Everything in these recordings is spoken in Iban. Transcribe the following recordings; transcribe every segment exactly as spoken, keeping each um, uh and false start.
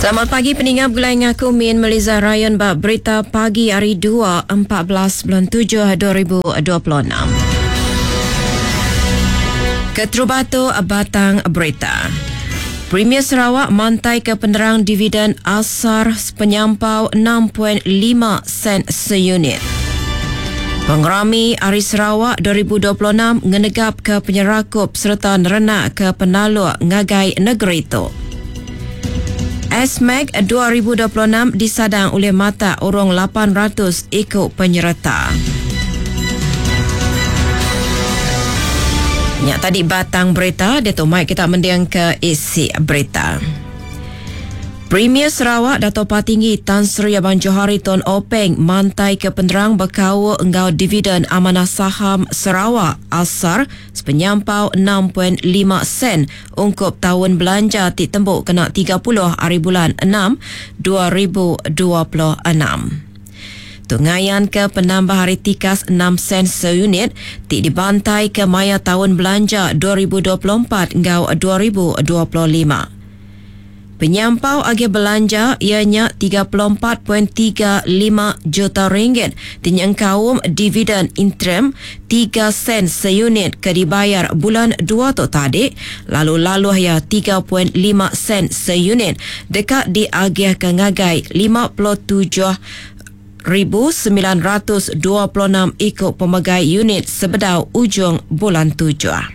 Selamat pagi peningga begulai ngaku Min Meliza Ryan ba berita pagi hari dua empat belas bulan tujuh dua ribu dua puluh enam. Keterubah tu batang berita. Premier Sarawak mantai ke penerang dividen asar penyampau enam perpuluhan lima sen seunit. Pengerami Hari Sarawak dua ribu dua puluh enam ngenegap ke penyerakup serta nerenak ke penaluk ngagai negeri itu. S M A C dua ribu dua puluh enam disadang oleh mata urung lapan ratus ikut penyerta. Nyak tadi batang berita, dia tu mai kita mendiang ke isi berita. Premier Sarawak Dato' Patinggi Tan Sri Abang Johari Tun Openg mantai ke penerang berkau enggau dividen amanah saham Sarawak asar sepenyampau enam perpuluhan lima sen ungkup tahun belanja ti tembuk kena tiga puluh hari bulan enam dua ribu dua puluh enam. Tungayan ke penambah hari tikas enam sen seunit ti dibantai ke maya tahun belanja dua ribu dua puluh empat hingga dua ribu dua puluh lima. Penyampau agi belanja ianya tiga puluh empat perpuluhan tiga lima juta ringgit dinyengkaum dividen interim tiga sen seunit ke dibayar bulan dua tu tadi lalu laluh ia tiga perpuluhan lima sen seunit dekat diagih ke ngagai lima puluh tujuh ribu sembilan ratus dua puluh enam ikut pemegai unit sebedau ujung bulan tujuh.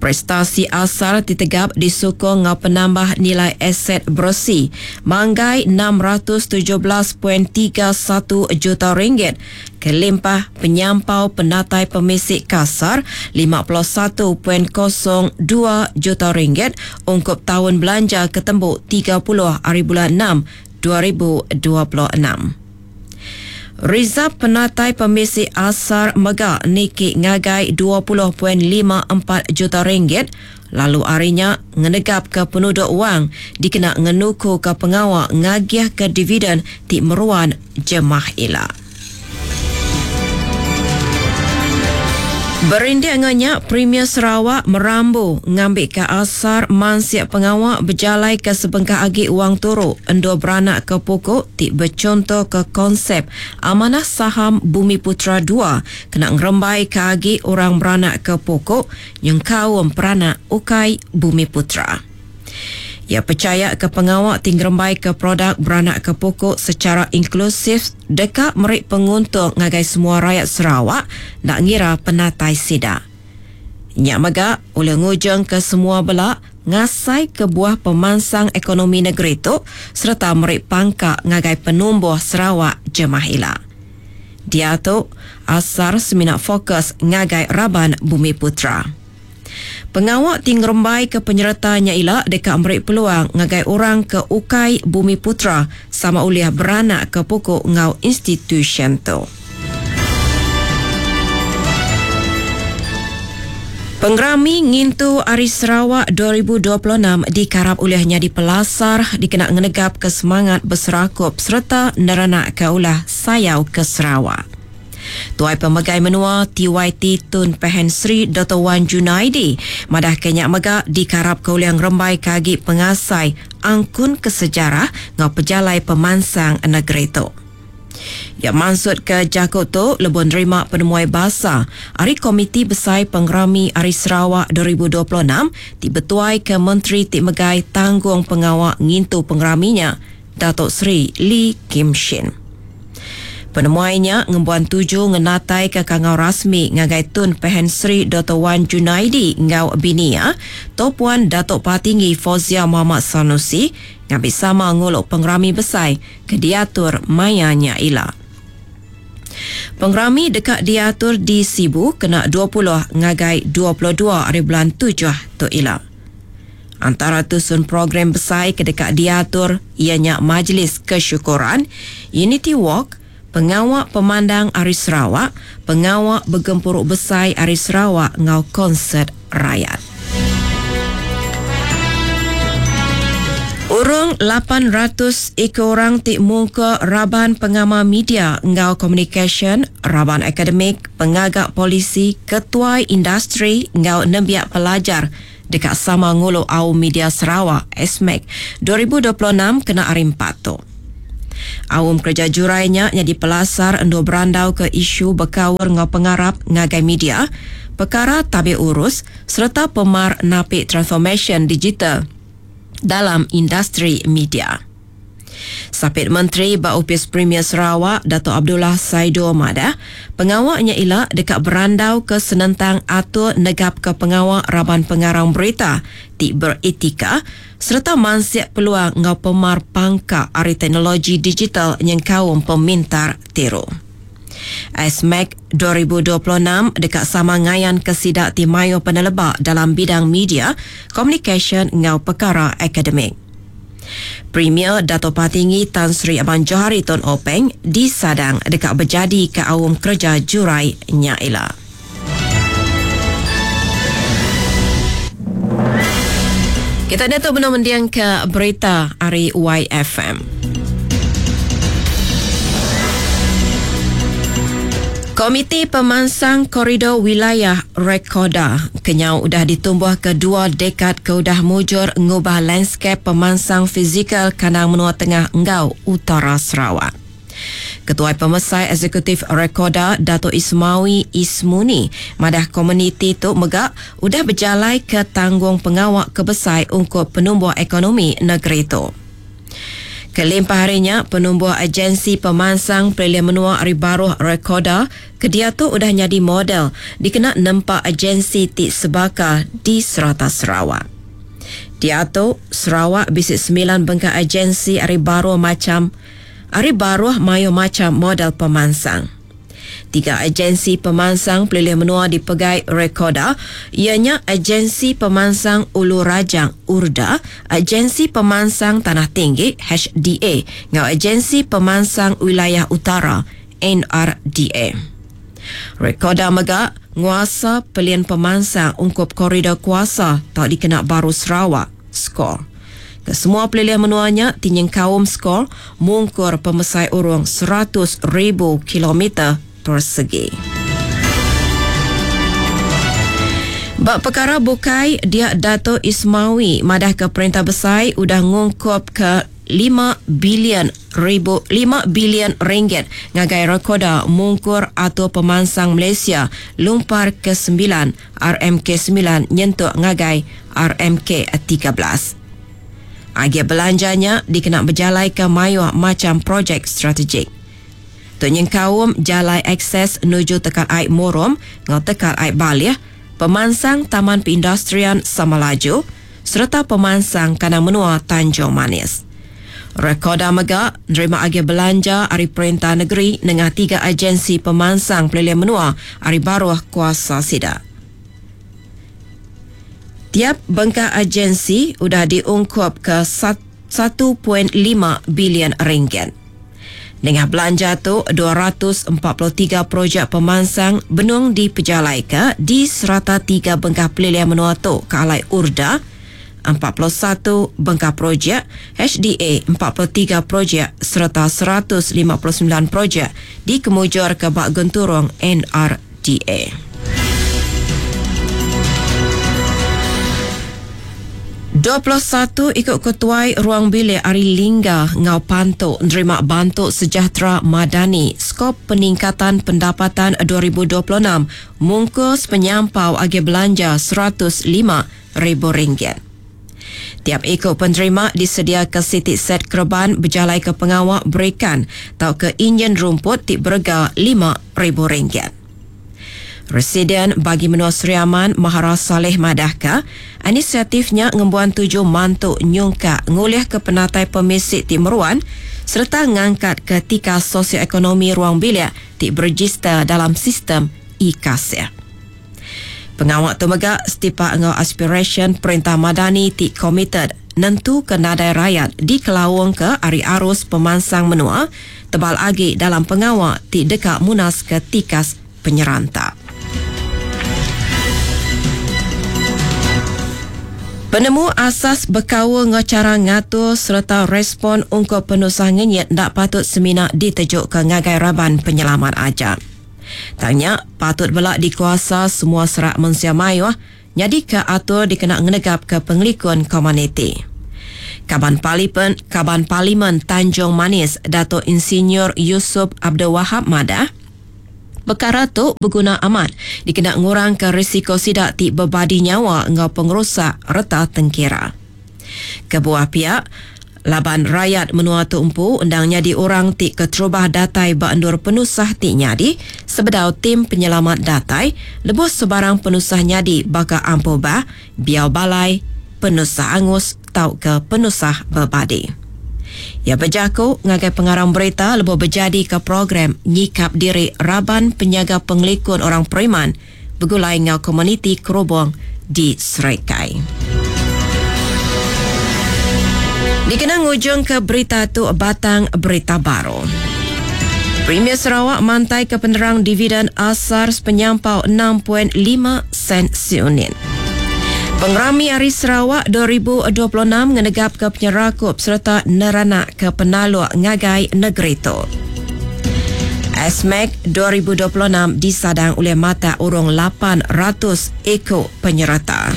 Prestasi asal ditegap disokong ngau penambah nilai aset bersih manggai enam ratus tujuh belas perpuluhan tiga satu juta ringgit kelimpah penyampau penatai pemisik kasar lima puluh satu perpuluhan kosong dua juta ringgit ungkup tahun belanja ketembuk tiga puluh hari bulan enam dua ribu dua puluh enam. Rizab penatai pemisik asar mega niki ngagai dua puluh perpuluhan lima empat juta ringgit lalu harinya ngenegap ke penuduk wang dikena ngenuku ke pengawal ngagih ke dividen ti meruan jemah ila. Berindik nganya Premier Sarawak merambu ngambil ke asar mansiak pengawal berjalai ke sebengkah agi wang turu endo beranak ke pokok ti bercontoh ke konsep amanah saham Bumi Putra dua kena ngerembai ke agi orang beranak ke pokok nyengkaum peranak ukai Bumi Putra. Ia percaya ke pengawal tinggerembai ke produk beranak ke pokok secara inklusif dekat merik penguntung ngagai semua rakyat Sarawak nak ngira penatai sida. Nyak mega oleh ngujung ke semua belak ngasai ke buah pemansang ekonomi negeri tu serta merik pangkak ngagai penumbuh Sarawak jemah ila. Dia tu asar semina fokus ngagai raban Bumi Putra. Pengawal tinggerembai ke penyertanya ila dekat merik peluang ngagai orang ke ukai Bumi Putra sama uliah beranak ke pokok ngau institution tu. Pengerami Ngintu Hari Sarawak dua ribu dua puluh enam dikarap olehnya di Pelasar dikena ngenegap ke semangat berserakup serta nerenak ke ulah sayau ke Sarawak. Tuai Pemegai Menua T Y T Tun Pehin Sri Doktor Wan Junaidi madah kenyak mega dikarap ke uliang rembai kagi pengasai angkun ke sejarah ngau pejalai pemansang negeri tu. Ya maksud ke jakut tu lebih nerima penemuai basa Hari Komiti Besai Pengerami Hari Sarawak dua ribu dua puluh enam dibetuai ke Menteri Tik Megai Tanggung Pengawak Ngintu Pengeraminya Datuk Seri Lee Kim Shin. Penemuainya ngembuan tuju ngenatai ke kangau rasmi ngagai Tun Pehin Sri Doktor Wan Junaidi ngau binia Topuan Datuk Patinggi Fauziah Muhammad Sanusi ngambil sama nguluk pengerami besar ke diatur mayanya ila. Pengerami dekat diatur di Sibu kena dua puluh ngagai dua puluh dua hari bulan tujuh tu ila. Antara tusun program besar ke dekat diatur ianya Majlis Kesyukuran, Unity Walk, Pengawak Pemandang Hari Sarawak, Pengawak Bergempuruk Besar Hari Sarawak ngau konsert rakyat. Urung lapan ratus iku orang ti mungkur raban pengama media enggau komunikasyen, raban akademik, pengaga polisi, ketuai industri enggau nembiak pelajar deka sama ngulu Aum Media Sarawak S M A C dua ribu dua puluh enam kena hari empat tu. Aum kerja jurai nya nyadi pelasar endur berandau ke isu berkaul enggau pengarap ngagai media, perkara tabik urus serta pemar napi transformasyen digital dalam industri media. Sapit Menteri ba Opis Premier Sarawak, Dato' Abdullah Saido madah, pengawaknya ila dekat berandau ke senentang atur negap ke pengawak raban pengarang berita ti beretika serta mansik peluang ngau pemar pangka ari teknologi digital nyengkaum pemintar tiru. S M A C dua ribu dua puluh enam dekat sama ngayan ke sidak ti mayo peneleba dalam bidang media, komunikasyen ngau perkara akademik. Premier Dato' Patinggi Tan Sri Abang Johari Tun Openg disadang dekat berjadi ke aum kerja jurai Nyaila. Kita datuk benar mendiang ke berita hari Y F M. Komiti Pemansang Koridor Wilayah Rekoda kenyau udah ditumbuh ke dua dekad ke udah mujur ngubah landscape pemansang fizikal kandang menua tengah enggau utara Sarawak. Ketua Pemesai Eksekutif Rekoda Dato' Ismawi Ismuni madah komuniti tu megak udah berjalai ke tanggung pengawak kebesai ungkup penumbuh ekonomi negeri tu. Kelimpah harinya, penumbuh agensi pemansang Pelilih Menua Ari Baruh Rekoda kedia tu udah nyadi model dikena nempak agensi ti sebaka di serata Sarawak. Diatu, Sarawak bisik sembilan bengkah agensi Ari Baruh macam Ari Baruh mayu macam model pemansang. Tiga agensi pemansang Pelilih Menua dipegai Rekoda ianya Agensi Pemansang Ulu Rajang Urda, Agensi Pemansang Tanah Tinggi H D A ngau Agensi Pemansang Wilayah Utara N R D A. Rekoda mega nguasa pelian pemansang ungkup koridor kuasa tau dikena baru Sarawak skor. Kesemua pelilih menuanya tinyeng kaum skor mungkur pemesai urung seratus ribu kilometer persegi. Bak perkara bukai, dia Dato' Ismawi madah ke perintah besar udah ngungkup ke lima bilion ribu, lima bilion ringgit ngagai Rekoda mungkur atau pemansang Malaysia lumpar ke sembilan R M K sembilan nyentuk ngagai R M K tiga belas. Agi belanjanya dikena berjalai ke mayuh macam projek strategik. Tok nyengkaum jalai akses menuju tekad air Murum ngau tekad air Balih, pemansang Taman Perindustrian Samalaju serta pemansang kandang menua Tanjung Manis. Rekoda mega nerima agi belanja ari perintah negeri nengah tiga agensi pemansang pelilih menua ari baruh kuasa sida. Tiap bengkah agensi udah diungkup ke satu point lima bilion ringgit. Dengan belanja tu, dua ratus empat puluh tiga projek pemansang benung dipejalaika di serata tiga bengkah pelilih menua tu ke alai Urda, empat puluh satu bengkah projek, H D A empat puluh tiga projek serta seratus lima puluh sembilan projek dikemujur ke Bak Genturung N R D A. Dua puluh satu ikut ketuai ruang bilik Ari Lingga ngau Pantuk nerima bantu sejahtera madani skop peningkatan pendapatan dua ribu dua puluh enam mungkus penyampau agi belanja seratus lima ribu ringgit. Tiap ikut penerima disedia ke sitik set kerban berjalai ke pengawak berikan atau ke injen rumput ti berga lima ribu ringgit. Residen bagi menua Sri Aman Mahara Saleh madahka inisiatifnya ngembuan tuju mantuk nyungka ngulih ke penatai pemisik ti meruan serta ngangkat ke tika sosioekonomi ruang bilik ti berregister dalam sistem e-kasih. Pengawak tu mega setipak ngau aspirasyen Perintah Madani ti committed nentu ke nadai rakyat di kelawang ke ari arus pemansang menua tebal agi dalam pengawak ti dekat munas ke tikas penyeranta. Penemu asas bekaul enggau chara ngatur sereta respon ungkup penusah ngenyit enda patut semina ditejuka ngagai raban penyelamat aja. Tang nya patut bela dikuasa semua serak mensia mayuh nyadika atur dikena ngenegapka pengelikun komuniti. Kaban Parlimen, Kaban Parlimen Tanjung Manis Datuk Insinyur Yusuf Abdul Wahab madah, pekara tu beguna amat dikena ngurangka risiko sida ti bebadi nyawa enggau pengerusak reta tengkira. Kebuah pia, laban rayat menua tu empu endang nyadi orang ti keterubah datai ba endur penusah ti nyadi sebedau tim penyelamat datai lebuh sebarang penusah nyadi baka ampuh bah, biau balai, penusah angus tauka penusah bebadi. Iya bejaku ngagai pengarang berita lebuh bejadika program nyikap diri raban penyaga pengelikun orang periman begulai enggau komuniti Kerubong di Serikai. Dikena ngujungka berita tu batang berita baru. Premier Sarawak mantai ke penerang dividen asar sepenyampau enam perpuluhan lima sen seunit. Pengerami Hari Sarawak dua ribu dua puluh enam ngenegap ke penyerakup serta neranak ke penaluk ngagai negeri tu. S M A C dua ribu dua puluh enam disadang oleh mata urung lapan ratus ekor penyerta.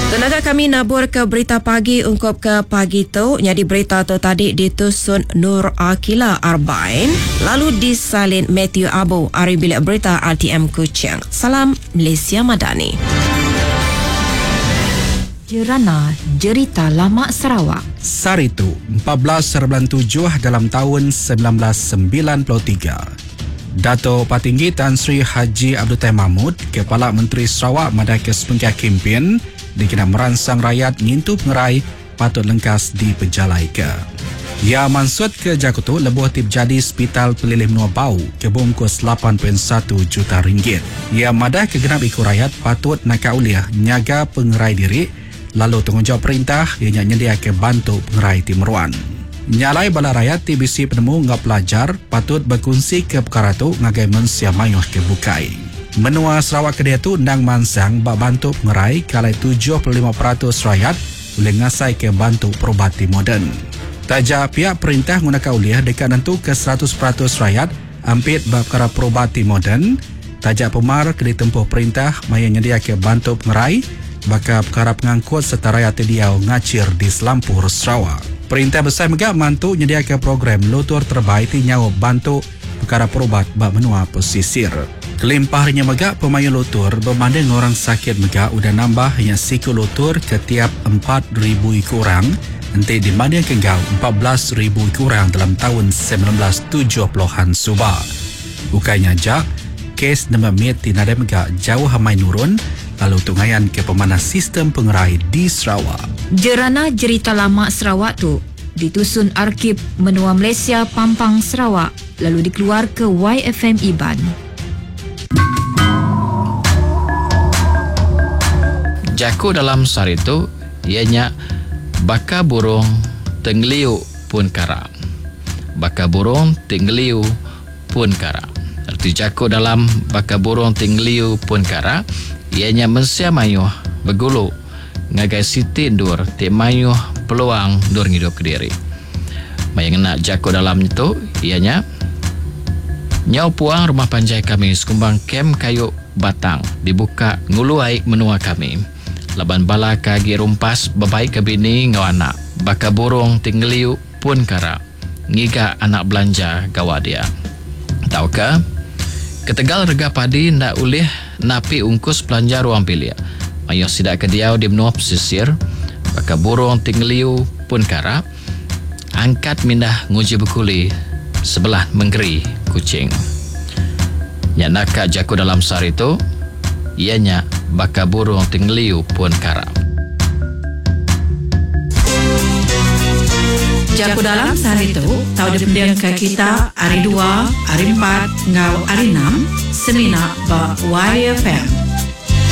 Tenaga kami nabur ke berita pagi ungkup ke pagi tu. Jadi berita tu tadi ditusun Nur Akila Arbain lalu disalin Matthew Abu ari bilik berita R T M Kuching. Salam Malaysia Madani. Jerana Jerita Lama Sarawak. Saritu empat belas bulan tujuh dalam tahun sembilan belas sembilan puluh tiga. Dato' Patinggi Tan Sri Haji Abdul Taib Mahmud, Kepala Menteri Sarawak madai ke sepengkah kempen dikena meransang rakyat ngintu pengerai patut lengkas dipejalai ke. Ia maksud ke Jakutu lebuh tip jadi Hospital Pelilih Menua Bau ke bungkus lapan perpuluhan satu juta ringgit. Ia madah ke genap ikut rakyat patut nakak uliah nyaga pengerai diri lalu tanggungjawab perintah ia nyendia ke bantu pengerai timuruan. Nyalai bala rakyat T B C penemu ngau pelajar patut berkongsi ke perkara tu ngagai mensia mayuh ke bukai. Menua Sarawak ke dia tu endang mansang bak bantu pengerai kalai tujuh puluh lima peratus rakyat boleh ngasai ke bantu perubatan moden. Taja pihak perintah menggunakan uliah dekat nentu ke seratus peratus rakyat ampit bak perkara perubatan moden. Taja pemar ke ditempuh perintah maya nyedia ke bantu pengerai baka perkara pengangkut serta rakyat diau ngacir di Selampur Sarawak. Perintah besar megak mantu nyediakan program lutur terbaik ti nyawa bantu perkara perubat bak menua pesisir. Kelimpahnya megak pemayu lutur berbanding orang sakit megak udah nambah yang siku lutur ke tiap empat ribu kurang enti dibanding kenggau empat belas ribu kurang dalam tahun sembilan belas tujuh puluhan suba. Bukannya jak, kes nama mit ti nadai megak jauh hamai nurun lalu tungayan ke pemanas sistem pengerai di Sarawak. Jerana Jerita Lama Sarawak tu ditusun Arkib Menua Malaysia Pampang Sarawak lalu dikeluar ke Y F M Iban. Jaku dalam sari tu ianya baka burung tenggeliu pun kara. Baka burung tenggeliu pun kara. Erti jaku dalam baka burung tenggeliu pun kara ianya mensia mayuh begulu ngagai siti ndur ti mayuh peluang ndur ngidup ke diri. Maya ngena jaku dalam tu ianya nyau puang rumah panjai kami sekumbang kem kayu batang dibuka ngulu aik menua kami. Laban bala kagi rumpas bebaik ke bini ngau anak baka burung tinggeliu pun kara ngiga anak belanja gawa dia. Tauka ketegal rega padi ndak ulih napi ungkus belanja ruang bilik. Mayuh sidak ke diau di menua pesisir baka burung tinggeliu pun kara angkat mindah nguji bekuli sebelah menggeri kucing. Nyak naka jaku dalam sari tu ianya baka burung tinggeliu pun kara. Jaku dalam sehari tu, tau dipending ke kita hari dua, hari empat, ngau hari enam, semina ba Y F M.